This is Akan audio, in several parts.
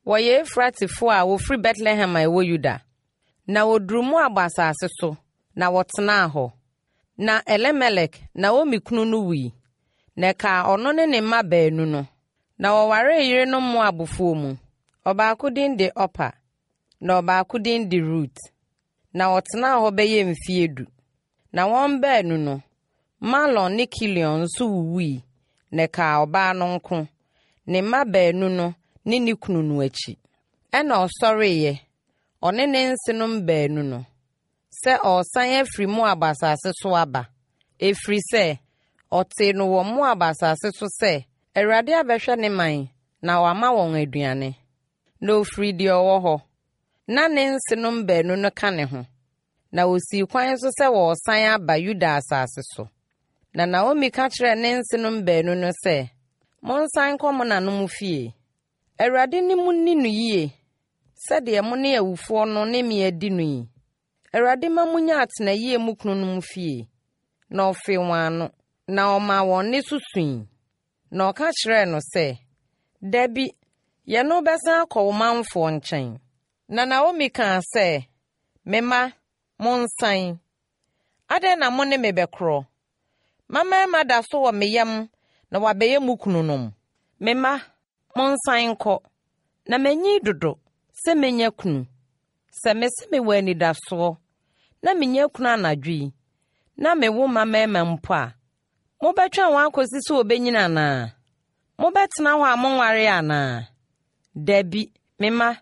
Wɔyɛ Efratifoɔ a wɔfiri Betlehem a ɛwɔ Yuda. Na wɔduruu Moab asase so, na wɔtenaa hɔ. Na Elimelek, Naomi kunu no wui, na ɛkaa ɔno ne ne mma baanu no. Na wɔwaree yerenom Moabfoɔ mu, ɔbaako din de Orpa, na ɔbaako din de Rut. Na wɔtenaa hɔ bɛyɛ mfeɛ du. Na wɔn baanu no, Mahlon ne Kilion nso wuwui, na ɛkaa ɔbaa no nko, ne mma baanu no ne ne kunu no akyi. Ɛnna ɔsɔreeɛ, ɔne ne nsenom baanu no, sɛ ɔresane afiri Moab asase so aba, ɛfiri sɛ ɔtee no wɔ Moab asase so sɛ AWURADE abɛhwɛ ne man na wama wɔn aduane. Na ɔfirii deɛ ɔwɔ hɔ, na ne nsenom baanu no ka ne ho, na wɔsii kwan so sɛ wɔresane aba Yuda asase so. Na Naomi ka kyerɛɛ ne nsenom baanu no sɛ, Monsane nkɔ mo nanom fie. AWURADE ne mo nni no yie, sɛdeɛ mo ne awufoɔ no ne me adi no yi. AWURADE mma monnya atenayie mo kununom fie. Na ɔfee wɔn ano, na ɔmaa wɔn nne so sui. Na ɔka kyerɛɛ no sɛ, Dabi, yɛne wo bɛsane akɔ wo manfoɔ nkyɛn. Na Naomi kaa sɛ, Me mma, monsane. Adɛn na mo ne me bɛkorɔ? Mmammarima da so wɔ me yam na wɔabɛyɛ mo kununom. Me mma, monsane nkɔ, na manyin dodo sɛ mɛnya kunu. Sɛ mese mewɔ anidasoɔ na menya kunu anadwo yi, na mewo mmammarima mpo a, Mobɛtwɛn wɔn akɔsi sɛ wɔbɛnyini anaa? Mobɛtena hɔ a monwaree anaa? Dabi, me mma,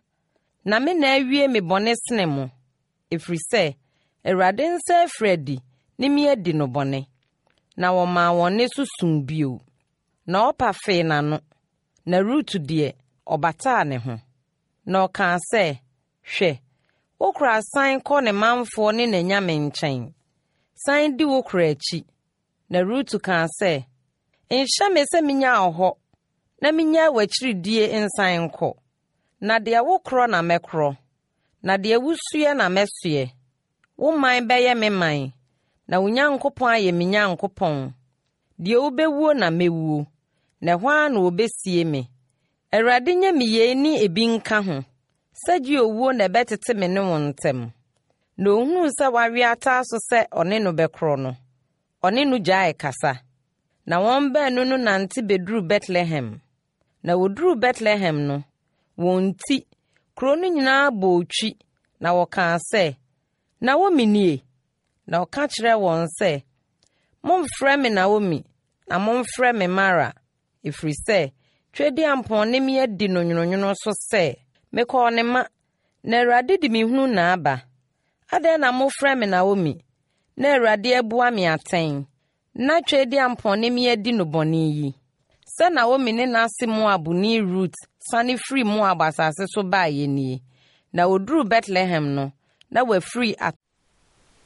na me na awie me bɔne sene mo, ɛfiri sɛ Awurade nsa afiri adi ne me adi no bɔne. Na wɔmaa wɔn nne so suu bio. Na Orpa fee n'ano, na Rut deɛ, ɔbataa ne ho. Na ɔkaa sɛ, Hwɛ, wo kora sane kɔ ne manfoɔ ne n'anyame nkyɛn. Sane di wo kora akyi. Na Rut kaa sɛ, Nhyɛ me sɛ mennya wo hɔ na mennyae w'akyiri die nsan nkɔ. Na deɛ wokorɔ na mɛkorɔ, na deɛ wosoɛ na mɛsoɛ. Wo man bɛyɛ me man, na wo Nyankopɔn ayɛ me Nyankopɔn. Deɛ wobɛwuo na mɛwuo, na ɛhɔ ara na wɔbɛsie me. Awurade nyɛ me yei ne ebi nka ho, sɛ gye owuo na ɛbɛtete me ne wo ntam. Na ɔhunuu sɛ wawe ataa so sɛ ɔne no bɛkorɔ no, ɔne no gyaee kasa. Na wɔn baanu no nante bɛduruu Betlehem. Na wɔduruu Betlehem no, wɔn nti, kuro no nyinaa bɔɔ twi, na wɔkaa sɛ, Naomi nie? Na ɔka kyerɛɛ wɔn sɛ, Mommfrɛ me Naomi, na momfrɛ me Mara, ɛfiri sɛ Tweaduampɔn ne me adi no nwononwono so sɛ, Mekɔɔ ne ma, na Awurade de me hunu na aba. Adɛn na mofrɛ me Naomi, na Awurade abua me atɛn, na Tweaduampɔn ne me adi no bɔne yi? Sɛ Naomi ne n'ase Moabni Rut sane firii Moab asase so baeɛ nie. Na wɔduruu Betlehem no, na wafiri.